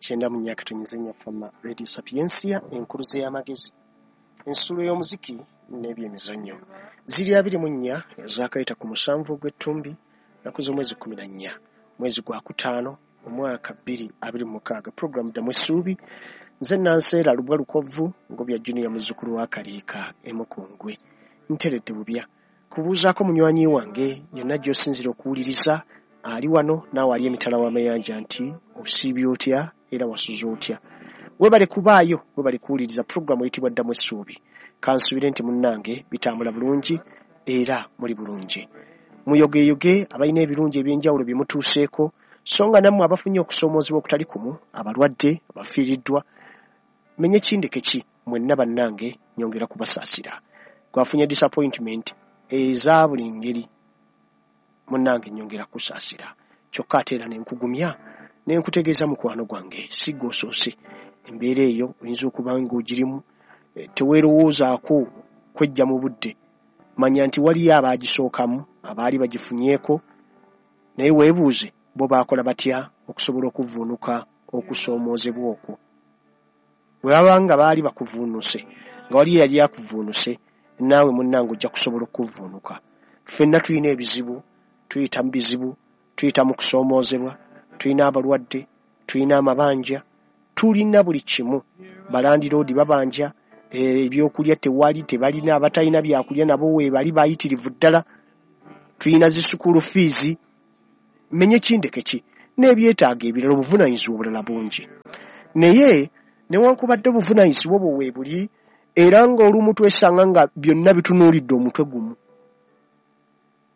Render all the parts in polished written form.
94.4 Fama Radio Sapiensia, enkuluze y'amagezi, ensulo y'omuziki n'ebyemizannyo. Ziri 24 ezaakayita ku 7 ogw'ettumbi, nnaku z'omwezi 14, mwezi gwa 5, omwaka 2026. Puroguramu Ddamu Essuubi. Nze Nanseera Lubwa Lukovvu, Ngobya Junior, muzzukulu wa Kaliika e Mukungwe. Nteredde bubya kubuuzaako munywanyi wange yonna gy'osinziira okuwuliriza, ali wano naawe ali emitala w'amayanja, nti osiibye otya era wasuze otya? Weebale kubaayo, weebale kuwuliriza puroguramu eyitibwa Ddamu Essuubi. Kansuubire nti munnange bitambula bulungi era muli bulungi. Muyogeeyoge abalina ebirungi ebyenjawulo bye mutuuseeko, so nga nammwe abafunye okusoomoozebwa okutali kumu, abalwadde, abafiiriddwa, menye kindeke ki, mwenna bannange nyongera kubasaasira. Gwafunye disappointment eza buli ngeri, munnange nyongera kusaasira. Kyokka ate era ne nkugumya ne nkutegeeza, mukwano gwange, si ggwe osoose. Embeera eyo oyinza okuba ng'ogirimu, teweerowoozaako kwejja mu budde. Manya nti waliyo abaagisookamu, abaali bagifunyeeko, naye weebuuze bo baakola batya okusobola okuvvuunuka okusoomoozebwa okwo. Bwe baba nga baali bakuvuunuse, nga waliyo eyali akuvuunuse, naawe munnange ojja kusobola okuvvuunuka. Ffenna tulina ebizibu, tuyita mu bizibu, tuyita mu kusoomoozebwa, tulina abalwadde, tulina amabanja, tulina buli kimu. Balandiroodi babanja, ebyokulya tewali, tebalina, abatalina byakulya nabo weebali bayitirivu ddala. Tulina zi school fees, menye kindeke ki, n'ebyetaago ebirala, obuvunaanyizibwa obulala bungi. Naye newankubadde obuvunaanyizibwa obwo weebuli, era ng'olumu twesanga nga byonna bitunuulidde omutwe gumu.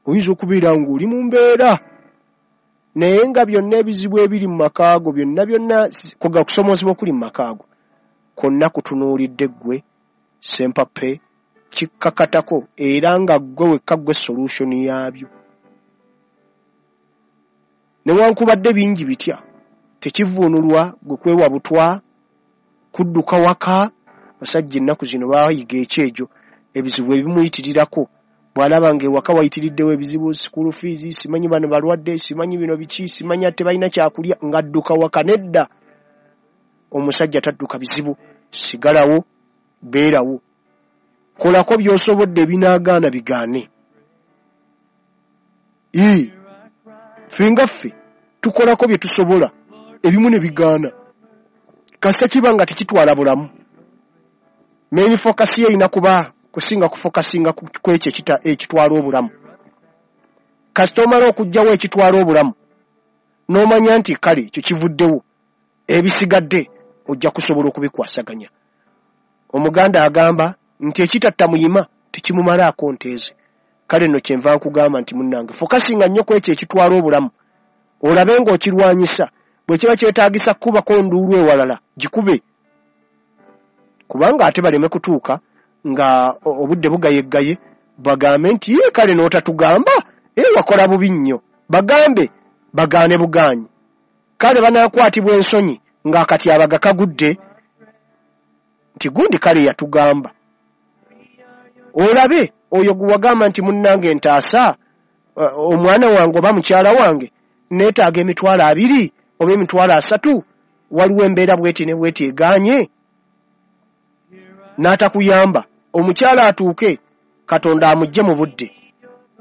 Oyinza okubeera ng'oli mu mbeera, naye nga byonna ebizibu ebiri mu maka go byonna byonna, kuga kusoomoozebwa okuli mu maka go kwonna kutunuulidde ggwe Sempape, kikkakatako, era nga ggwe wekka ggwe solution yaabyo. Newankubadde bingi bitya, tekivuunulwa gwe kwewa butwa, kudduka waka. Basajja ennaku zino baayiga ekyejo, ebizibu ebimuyitirirako bw'alaba ng'ewaka wayitiriddewo ebizibu, school fees, simanyi bano balwadde, simanyi bino biki, simanyi tebalina kyakulya, ng'adduka waka. Nedda, omusajja tadduka bizibu. Sigalawo, beerawo, kolako by'osobodde, ebinaagaana bigaane. Ii, ffe nga ffe tukolako bye tusobola, ebimu ne bigaana, kasita kiba nga tekitwala bulamu. Main focus ye erina kuba kusinga kufokasinga ku ekyo ekitwala obulamu. Kasita omala okuggyawo ekitwala obulamu n'omanya nti kale ekyo kivuddewo, ebisigadde ojja kusobola okubikwasaganya. Omuganda agamba nti ekitatta muyima tekimumalaako nteeze. Kale nno kyenva nkugamba nti munnange, fokasinga nnyo ku ekyo ekitwala obulamu, olabe ng'okirwanyisa. Bwe kiba kyetaagisa kukubako nduulu ewalala, gikube, kubanga ate baleme kutuuka nga obudde bugayeggaye bagambe nti ye kale n'otatugamba, ee wakola bubi nnyo. Bagambe bagaane bugaanyi, kale banaakwatibwa ensonyi ng'akatyabaga kagudde nti gundi kale yatugamba. Olabe oyo gwe wagamba nti munnange ntaasa, omwana wange oba mukyala wange neetaaga 20,000 oba 30,000, waliwo embeera bweti ne bweti egaanye, n'atakuyamba. Omukyala atuuke Katonda amuggye mu budde,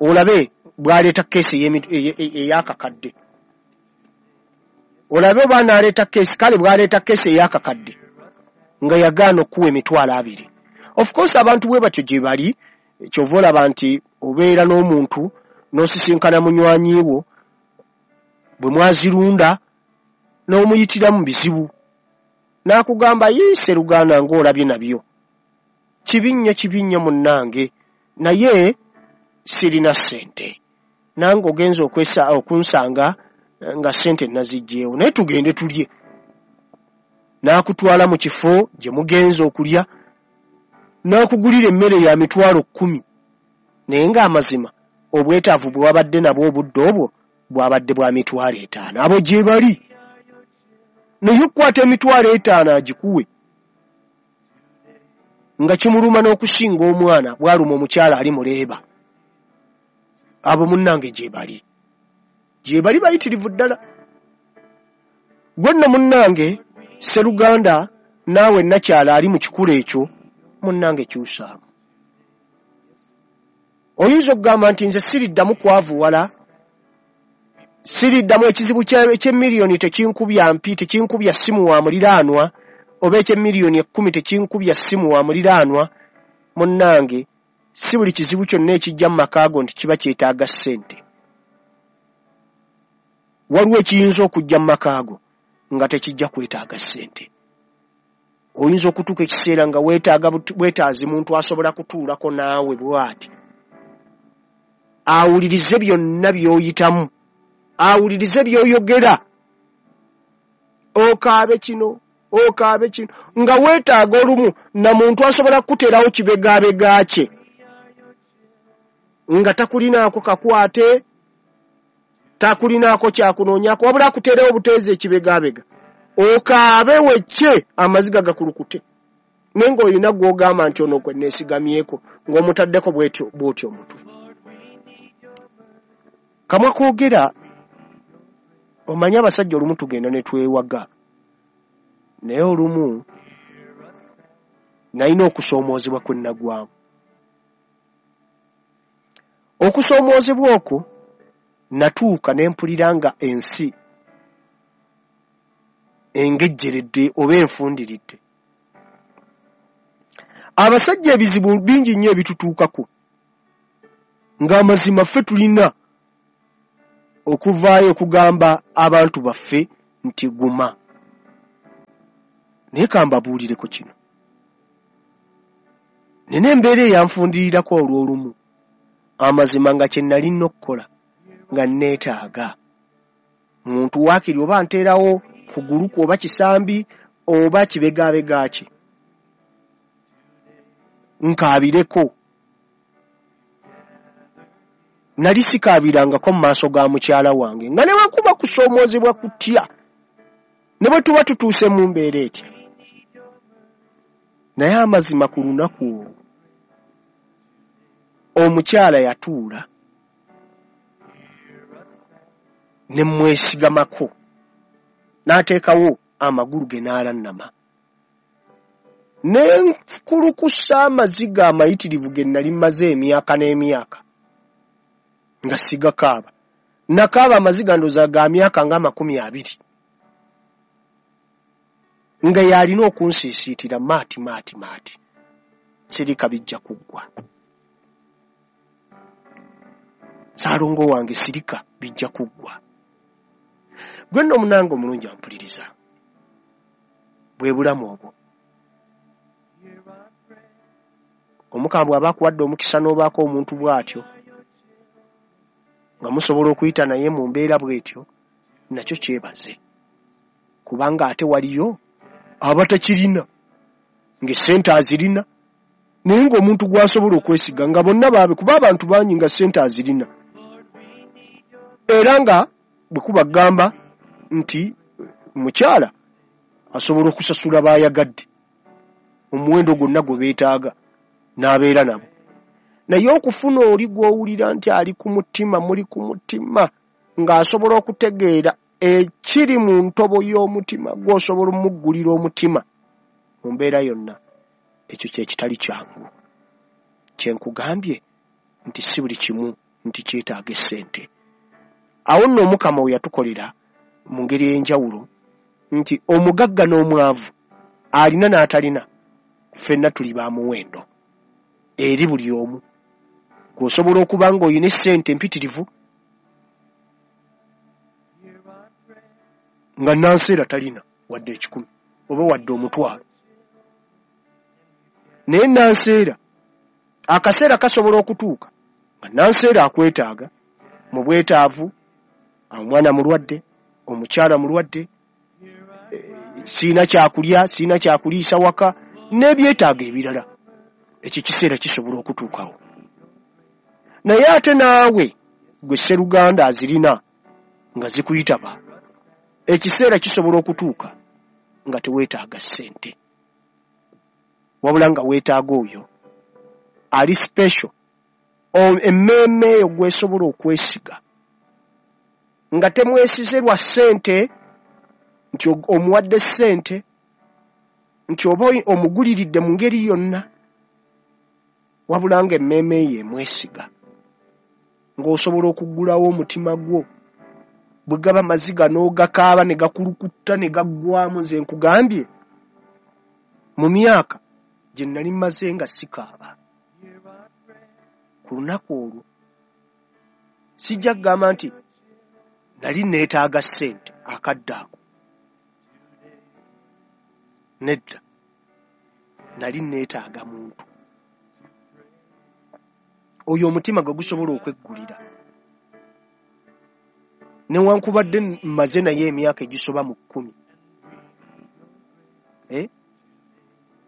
olabe bw'aleeta keesi ey'akakadde. Olabe oba n'aleeta keesi, kale bw'aleeta keesi ey'akakadde nga yagaana okuwa 20,000. Of course abantu bwe batyo gye bali. Kyova olaba nti obeera n'omuntu n'osisinkana munywanyi wo bwe mwazirunda n'omuyitira mu bizibu, n'akugamba, "Yii Sseruganda, ng'olabye nabyo kibi nnyo, kibi nnyo munnange, naye sirina ssente, nange ogenza okwesa okunsanga nga ssente naziggyeewo, naye tugende tulye." N'akutwala mu kifo gye mugenze okulya, n'akugulira emmere ya 10,000, naye ng'amazima obwetaavu bwe wabadde nabwo obudde obwo bwabadde bwa 50,000. Abo gye bali, naye okukwata 50,000 agikuwe nga kimuluma n'okusinga omwana bw'aluma omukyala ali muleeba. Abo munnange gye bali, gye bali bayitirivu ddala. Gwe nno munnange Sseruganda naawe nakyala ali mu kikula ekyo, munnange kyusaamu. Oyinza okugamba nti nze siriddamu kwavuwala, siriddamu ekizibu eky'emiliyoni tekinkubya mpi, tekinkubya ssimu wa muliraanwa, oba eky'emiliyoni 10 tekinkubya ssimu wa muliraanwa. Munnange, si buli kizibu kyonna ekijja mu maka go nti kiba kyetaaga ssente. Waliwo ekiyinza okujja mu maka go nga tekijja kwetaaga ssente. Oyinza okutuuka ekiseera nga weetaaga bwetaazi muntu asobola kutuulako naawe bw'ati, awulirize byonna by'oyitamu, awulirize by'oyogera, okaabe kino, okaabe kino, nga weetaaga olumu na muntu asobola kukuteerawo kibegaabega kye nga takulinaako kakwate, takulinaako kyakunoonyaako, wabula akuteerewo obuteezi ekibegaabega, okaabe wecce amaziga gakulukute, naye ng'olina gw'ogamba nti ono gwe neesigamyeko, ng'omutaddeko bw'otyo omutwe. Kamwa koogera, omanyi abasajja olumu tugenda ne twewaga, naye olumu nalina okusoomoozebwa kwe nnagwamu. Okusoomoozebwa okwo natuuka ne mpulira nga ensi engejjeredde oba enfundiridde. Abasajja ebizibu bingi nnyo ebitutuukako, ng'amazima ffe tulina okuvaayo okugamba abantu baffe nti guma. Naye kambabuulireko kino, nina embeera eyanfundirirako olw'olumu, amazima nga kye nalina okukola nga neetaaga muntu waakiri oba nteerawo kugulu kwe oba kisambi oba kibegaabega kye nkaabireko. Nali sikaabirangako mu maaso ga mukyala wange, nga ne bwe kuba kusoomoozebwa kutya, ne bwe tuba tutuuse mu mbeera etya. Naye amazima ku lunaku olwo omukyala yatuula ne mwesigamako, n'ateekawo amagulu ge n'alannama, ne nkulukusa amaziga amayitirivu ge nali mmaze emyaka n'emyaka nga sigakaaba. Nakaaba amaziga ndowooza ga myaka nga 20, nga yalina okunsiisiitira maati maati maati, sirika bijja kuggwa. Saalongo wange sirika bijja kuggwa. Gwe nno omunange omulungi ampuliriza, bwe bulamu obwo. Omukama bw'aba akuwadde omukisa n'obaako omuntu bw'atyo, nga musobola okuyita naye mu mbeera bw'etyo, nakyo kyebaze, kubanga ate waliyo abatakirina ng'essente azirina, naye ng'omuntu gw'asobola okwesiga nga bonna baabe, kuba abantu bangi nga ssente azirina, era nga bwe kuba kugamba nti mukyala asobola okusasula baayagadde omuwendo gwonna gwe beetaaga n'abeera nabo. Naye okufuna oli gw'owulira nti ali ku mutima, muli ku mutima, ng'asobola okutegeera ekiri mu ntobo y'omutima, gw'osobola omuggulira omutima mu mbeera yonna, ekyo kye kitali kyangu. Kye nkugambye nti si buli kimu nti kyetaaga essente. Awo nno Omukama we yatukolera mu ngeri ey'enjawulo nti omugagga n'omwavu, alina n'atalina, ffenna tuli ba muwendo eri buli omu. Gw'osobola okuba ng'olina essente empitirivu nga nanseera talina wadde 1,000 oba wadde 5,000, naye nanseera akaseera kasobola okutuuka nga nanseera akwetaaga mu bwetaavu, omwana mulwadde, omukyala mulwadde, siina kyakulya, siina kyakuliisa waka, n'ebyetaago ebirala. Ekyo ekiseera kisobola okutuukawo. Naye ate naawe gwe sseruganda azirina nga zikuyitaba, ekiseera kisobola okutuuka nga teweetaaga ssente, wabula nga weetaaga oyo ali special, emmeeme eyo gw'esobola okwesiga, nga temwesize lwa ssente nti omuwadde ssente nti oba omuguliridde mu ngeri yonna, wabula nga emmeeme ye emwesiga, ng'osobola okuggulawo omutima gwo, bwe gaba maziga n'ogakaaba ne gakulukutta ne gaggwamu. Nze nkugambye, mu myaka gye nali mmaze nga sikaaba, ku lunaku olwo sijja kugamba nti nali neetaaga ssente akadde ako, nedda, nali neetaaga muntu oyo omutima gwe gusobola okweggulira, newankubadde mmaze naye emyaka egisoba mu 10,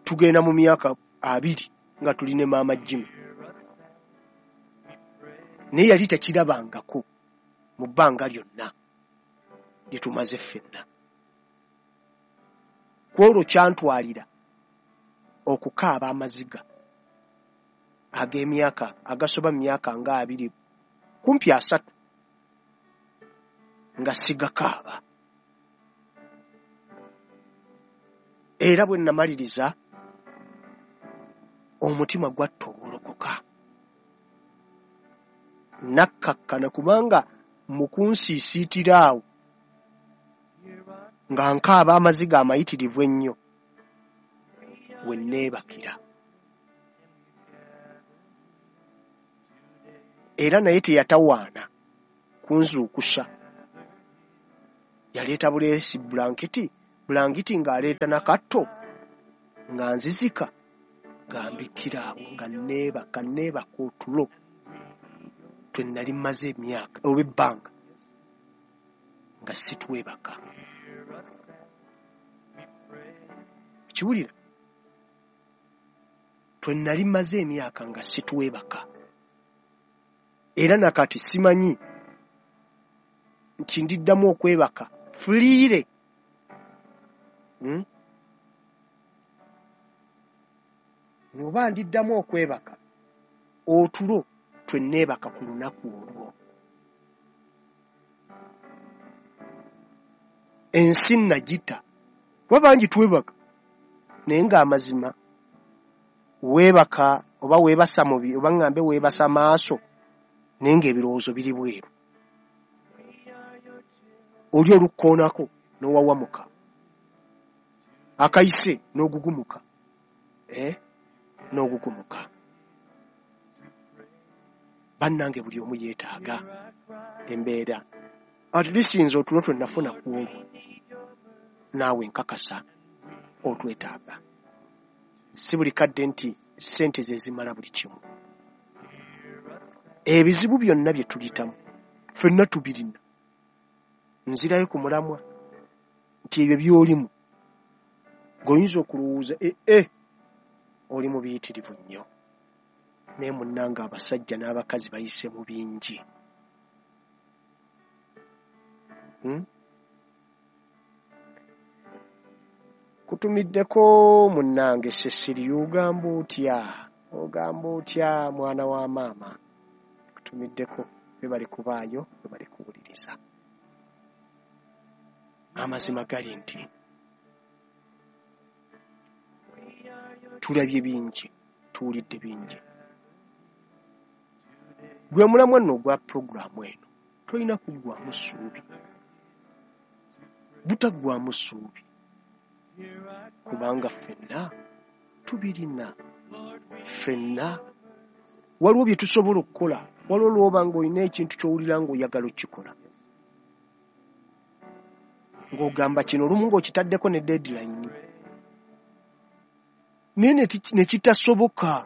tugenda mu myaka 20 nga tuli ne maama Jimmy, naye yali takirabangako mu bbanga lyonna lye tumaze ffenna. Ku olwo kyantwalira okukaaba amaziga ag'emyaka agasoba mu myaka nga 20 kumpi 30 nga sigakaaba. Era bwe namaliriza omutima gwattowolokoka, nakkakkana, kubanga mu kunsiisiitira awo nga nkaaba amaziga amayitirivu ennyo we neebakira. Era naye teyatawaana kunzuukusa, yaleeta buleesi bulangiti ng'aleeta nakatto nga nzizika nga mbikkira awo nga neebaka otulo twe nali mmaze emyaka oba ebbanga nga sitwebaka. Kiwulira, twe nali mmaze emyaka nga sitwebaka, era nakati simanyi nti ndiddamu okwebaka fuliire. Oba ndiddamu okwebaka otulo twe neebaka ku lunaku olwo. Ensi nagita, kuba bangi twebaka, naye ng'amazima weebaka oba weebasa mubi, oba ŋŋambe weebasa maaso, naye ng'ebirowoozo biri bweru. Oli olukkoonako n'owawamuka, akayise n'ogugumuka, n'ogugumuka. Bannange buli omu yeetaaga embeera. At least nze otulo twe nafuna ku olwo, naawe nkakasa otwetaaga. Si buli kadde nti ssente ze zimala buli kimu. Ebizibu byonna bye tuyitamu ffenna tubirina. Nzirayo ku mulamwa nti ebyo by'olimu ng'oyinza okulowooza oli mu biyitirivu nnyo, naye munnange abasajja n'abakazi bayise mu bingi. Kutumiddeko munnange Cecilia, ogamba otya? Ogamba otya mwana wa maama? Kutumiddeko, bwe bali kubaayo, bwe bali kuwuliriza. Amazima gali nti tulabye bingi, tuwulidde bingi. Gwe mulamwa nno ogwa pulogulaamu eno, tolina kuggwaamu ssuubi, butaggwaamu ssuubi, kubanga ffenna tubirina. Ffenna waliwo bye tusobola okukola. Waliwo lw'oba ng'olina ekintu ky'owulira ng'oyagala okukikola, ng'ogamba kino olumu ng'okitaddeko ne deadline, naye ne kitasoboka,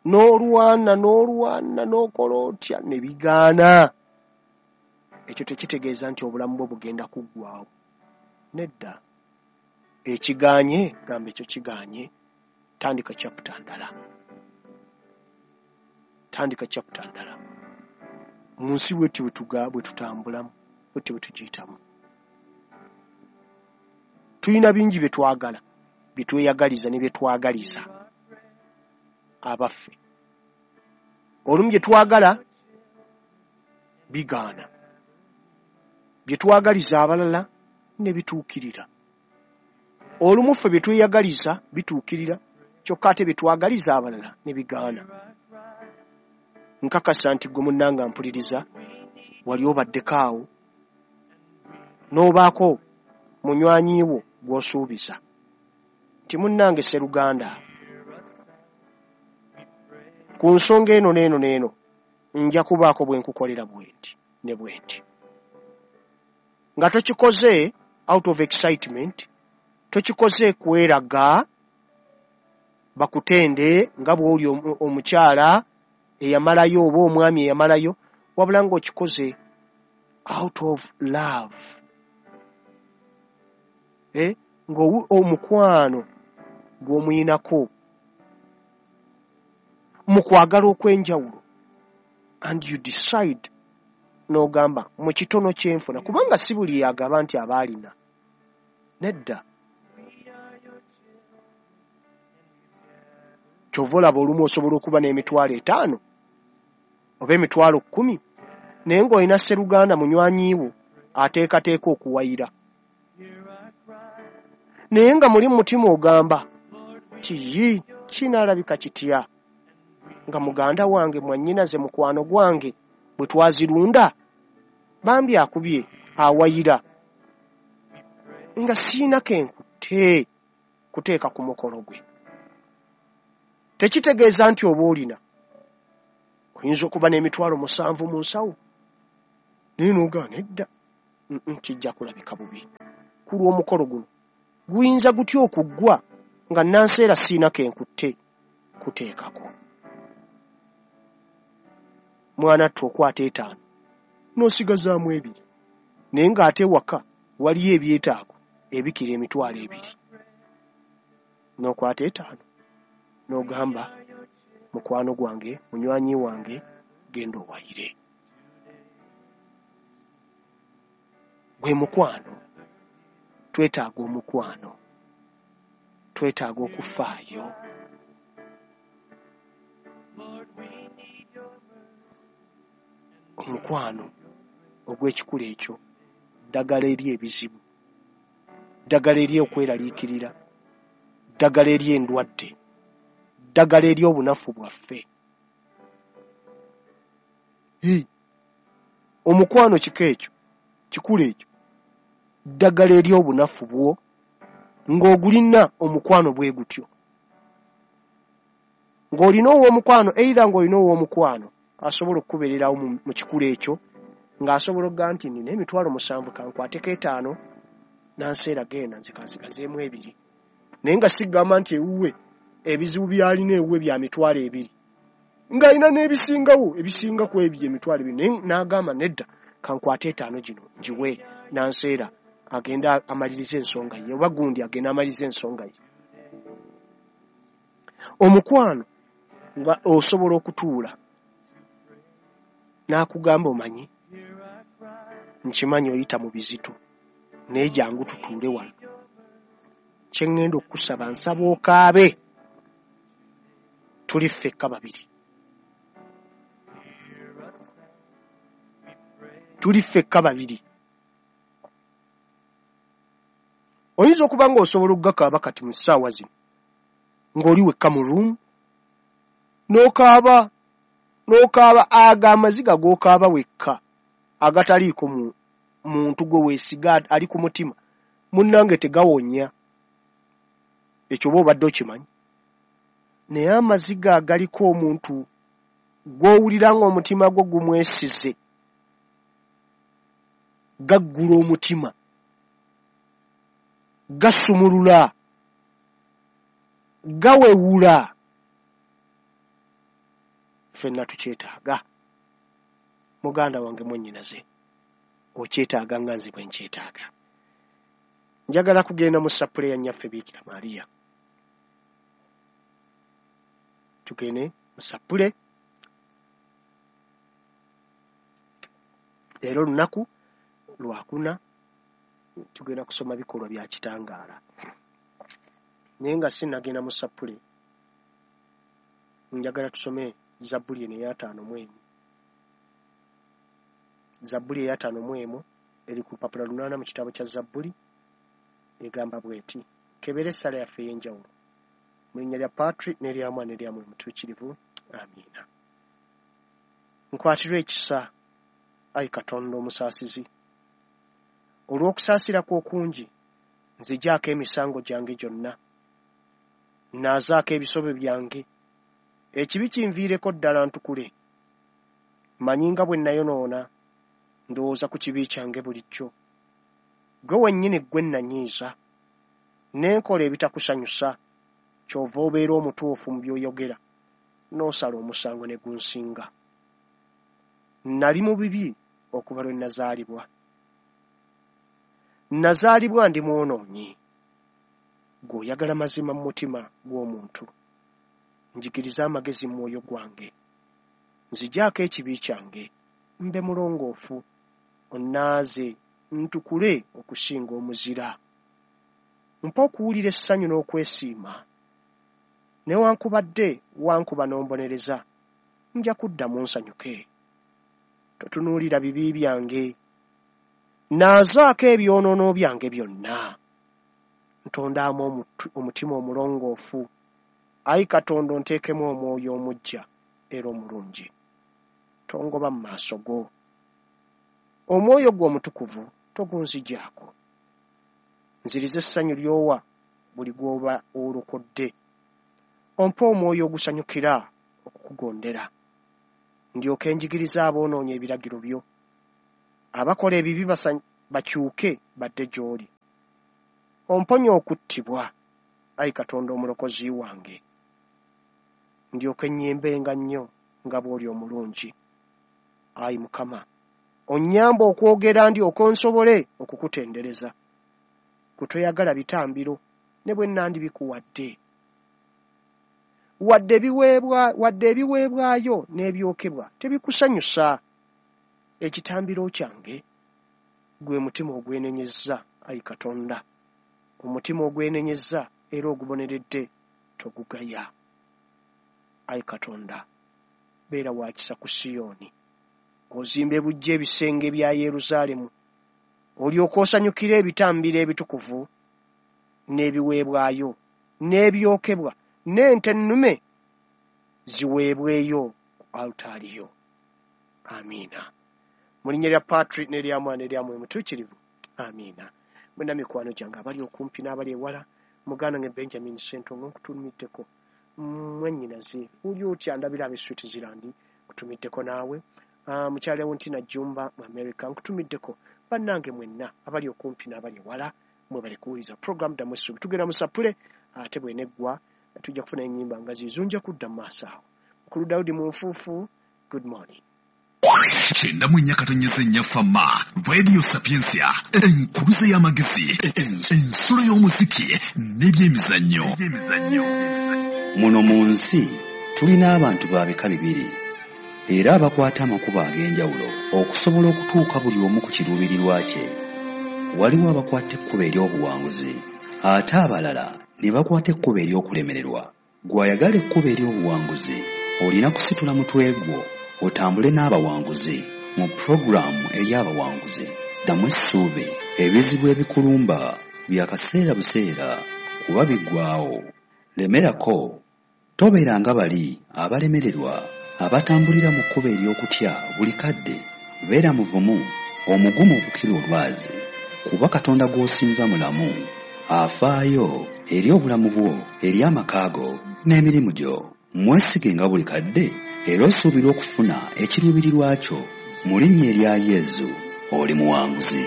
n'olwana n'olwana n'okola otya ne bigaana. Ekyo tekitegeeza nti obulamu bwo bugenda kuggwaawo, nedda. Ekigaanye, gamba ekyo kigaanye, tandika chapter ndala, tandika chapter ndala. Mu nsi bwetyo bwe tutambulamu, bwetyo bwe tugiyitamu. Tulina bingi bye twagala, bye tweyagaliza ne bye twagaliza abaffe. Olumu bye twagala bigaana, bye twagaliza abalala Ne bituukirira. Olumu ffe bye tweyagaliza bituukirira, kyokka ate bye twagaliza abalala ne bigaana. Nkakasa nti gwe munnanga mpuliriza wali obaddeko awo n'obaako munywanyi wo gw'osuubiza nti munnange sseruganda ku nsonga eno n'eno n'eno nja kubaako bwe nkukolera bwenti ne bwenti. Nga tokikoze out of excitement, tokikoze kweraga bakutende nga bw'oli omukyala eyamalayo oba omwami eyamalayo, wabula ng'okikoze out of love. Ng'omukwano gw'omuyinako mu kwagala okw'enjawulo, and you decide n'ogamba mu kitono kyenfuna, kubanga si buli yagaba nti aba alina. Nedda. Ky'ova olaba olumu osobola okuba n'emitwalo 5 oba emitwalo 10, naye ng'olina sseruganda munywanyi wo ateekateeka okuwayira, naye nga muli mu mutima ogamba nti yi kinaalabika kitya nga muganda wange mwannyinaze mukwano gwange bwe twazirunda bambi akubye awayira nga siina kenkutte kuteeka ku mukolo gwe. Tekitegeeza nti oba olina, oyinza okuba n'emitwalo 7 mu nsawo, naye n'ogaana nedda, kijja kulabika bubi ku lw'omukolo guno. Guyinza gutya okuggwa nga nanseera siina kenkutte kuteekako? Mwana ttu okwata 5 n'osigazaamu 2, naye ng'ate waka waliyo ebyetaago ebikira emitwalo 2, n'okwata 5 n'ogamba mukwano gwange munywanyi wange genda owayire. Gwe mukwano, twetaaga omukwano, twetaaga okufaayo. Omukwano ogw'ekikula ekyo ddagala eri ebizibu, ddagala eri okweraliikirira, ddagala eri endwadde, ddagala eri obunafu bwaffe. Omukwano kika ekyo, kikula ekyo, ddagala eri obunafu bwo ng'ogulina omukwano bwe gutyo. Ng'olina ow'omukwano, either ng'olina ow'omukwano asobola okukubeererawo mu kikula ekyo, ng'asobola okugamba nti nina emitwalo 7 kankwateko 5 nanseera genda nze kansigazeemu 2, naye nga sigamba nti ewuwe ebizibu by'alina ewuwe bya mitwalo 2, ng'alina n'ebisingawo ebisinga ku ebyo emitwalo 2, naye n'agamba nedda kankwate 5 gino ngiwe nanseera agenda amalirize ensonga ye, oba gundi agenda amalirize ensonga ye. Omukwano nga osobola okutuula n'akugamba omanyi nkimanyi oyita mu bizito, naye jangu tutuule wano, kye ŋŋenda okukusaba nsaba okaabe, tuli ffekka babiri, tuli ffekka babiri. Oyinza okuba ng'osobola okugakaaba kati mu ssaawa zino ng'oli wekka mu room n'okaaba n'okaaba ago amaziga g'okaaba wekka agataliiko muntu gwe weesiga ali ku mutima, munnange tegawonya. Ekyo oba obadde okimanyi? Naye amaziga agaliko omuntu gw'owulira ng'omutima gwo gumwesize gaggula omutima, gasumulula, gawewula. Ffenna tukyetaaga. Muganda wange mwannyinaze, okyetaaga nga nze bwe nkyetaaga. Njagala kugenda mu ssapule ya nnyaffe Biikira Maria. Tugende mu ssapule. Leero olunaku lwakuna, tugenda kusoma bikolwa bya kitangaala. Naye nga sinnagenda mu ssapule, njagala tusome Zabbuli eno eya 51. Zabbuli eya 51 eri ku lupapula 8 mu kitabo kya Zabbuli. Egamba bw'eti, k'ebeere essaala yaffe ey'enjawulo. Mu linnya lya Patri n'erya Mwana n'erya Mwoyo Mutuukirivu. Amiina. Nkwatirwa ekisa, ayi Katonda omusaasizi. Olw'okusaasira kwo okungi, nzigyako emisango gyange gyonna. Nnaazaako ebisobyo byange. Ekibi kinviireko ddala ntukule. Mmanyi nga bwe nnayonoona, ndowooza ku kibi kyange bulijjo. Ggwe wennyini ggwe nnanyiiza, ne nkola ebitakusanyusa, ky'ova obeera omutuufu mu by'oyogera, n'osala omusango ne gunsinga. Nnali mu bibi okuva lwe nnazaalibwa. Nnazaalibwa ndi mwonoonyi. Ggwe oyagala mazima mu mutima gw'omuntu. Njigiriza amagezi mu mwoyo gwange. Nzigyako ekibi kyange, mbe mulongoofu, onnaaze ntukule okusinga omuzira. Mpa okuwulira essanyu n'okwesiima. Newankubadde wankuba n'ombonereza, nja kuddamu nsanyuke. Totunuulira bibi byange. Nnaazaako ebyonoono byange byonna. Ntondaamu omutima omulongoofu. Ayi Katonda onteekemu omwoyo omuggya era omulungi. Tongoba mu maaso go. Omwoyo gwo omutukuvu togunzigyako. Nziriza essanyu ly'owa buli gw'oba olokodde. Ompe omwoyo ogusanyukira okukugondera. Ndyoke njigirize aboonoonyi ebiragiro byo. Abakola ebibi bakyuke badde gy'oli. Omponye okuttibwa, ayi Katonda omulokozi wange. Ndyoke nnyimbenga nnyo nga bw'oli omulungi. Ayi Mukama, onnyambe okwogera ndyoke nsobole okukutendereza. Ggwe toyagala bitambiro ne bwe nandibikuwadde. Wadde ebiweebwayo n'ebyokebwa tebikusanyusa. Ekitambiro kyange gwe mutima ogwenenyezza, ayi Katonda. Omutima ogwenenyezza era oguboneredde togugaya. Ayi Katonda, beera wa kisa ku Siyoni. Ozimbe buggya ebisenge bya Yerusaalemu, olyoke osanyukire ebitambiro ebitukuvu n'ebiweebwayo n'ebyokebwa n'ente ennume ziweebweyo ku alutaari yo. Amiina. Mu linnya lya Patri n'erya Mwana n'erya Mwoyo Mutuukirivu. Amiina. Mwenna mikwano gyange abali okumpi n'abali ewala, muganda wange Benjamin Ssentongo nkutumiddeko. Mwannyinaze oli otya ndabira ab'e Switzerland nkutumiddeko naawe. Mukyala Leontina Jjumba mu America nkutumiddeko. Bannange mwenna abali okumpi n'abali ewala mwebale kuwuliriza program Ddamu Essuubi. Tugenda mu sapule ate bw'eneggwa tujja kufuna ennyimba nga ziizo nja kudda mu maaso awo. Mukulu Daudi mu nfuufu, good morning. 94.4 Fama Radio Sapientia, enkuluze y'amagezi, ensulo y'omuziki n'ebyemizannyo. Muno mu nsi tulina abantu ba bika bibiri era abakwata amakubo ag'enjawulo okusobola okutuuka buli omu ku kiruubirirwa kye. Waliwo abakwata ekkubo ery'obuwanguzi ate abalala ne bakwata ekkubo ery'okulemererwa. Gw'ayagala ekkubo ery'obuwanguzi olina kusitula mutwe gwo otambule n'abawanguzi mu pulogulaamu ey'abawanguzi. Ddamu essuubi. Ebizibu ebikulumba bya kaseera buseera kuba biggwaawo. Lemerako. Tobeera nga bali abalemererwa abatambulira mu kkubo ery'okutya buli kadde. Beera muvumu, omugumu okukira olwazi, kuba Katonda gw'osinza mulamu, afaayo eri obulamu bwo, eri amaka go n'emirimu gyo. Mwesige nga buli kadde era osuubira okufuna ekiruubirirwa kyo. Mu linnya erya Yezu, oli muwanguzi.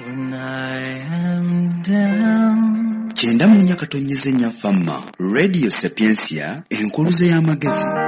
When I am down. 94.4 Fama, Radio Sapientia, enkuluze y'amagezi.